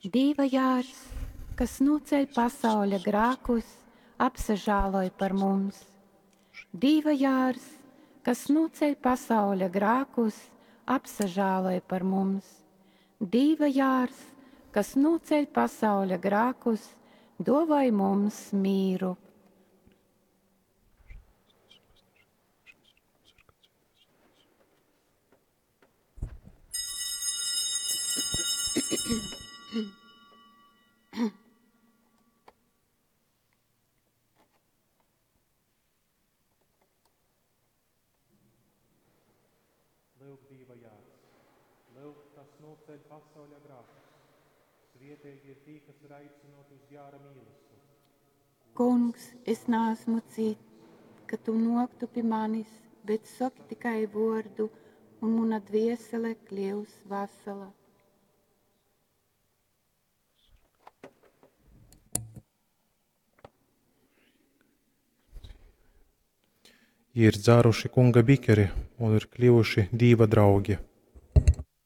Dīva jārs, kas nūceļ pasauļa grākus, apsažāloj par mums. Dīva jārs, kas nūceļ pasauļa grākus, apsažāloj par mums. Dīva jārs, kas nūceļ pasauļa grākus, duovoj mums mīru. Lyuk, Dīva jārs, lyuk, kas nūceļ pasauļa grākus. Svietīgi ir tī, kas ir aicināti uz jāra mīlestu. Kungs, es neesmu cits, ka tu noktu pi manis, bet soki tikai vordu, un muna dviesele kļūs vasala. Jī ir dzāruši Kunga bikeri un ir kļuvuši Dīva draugi.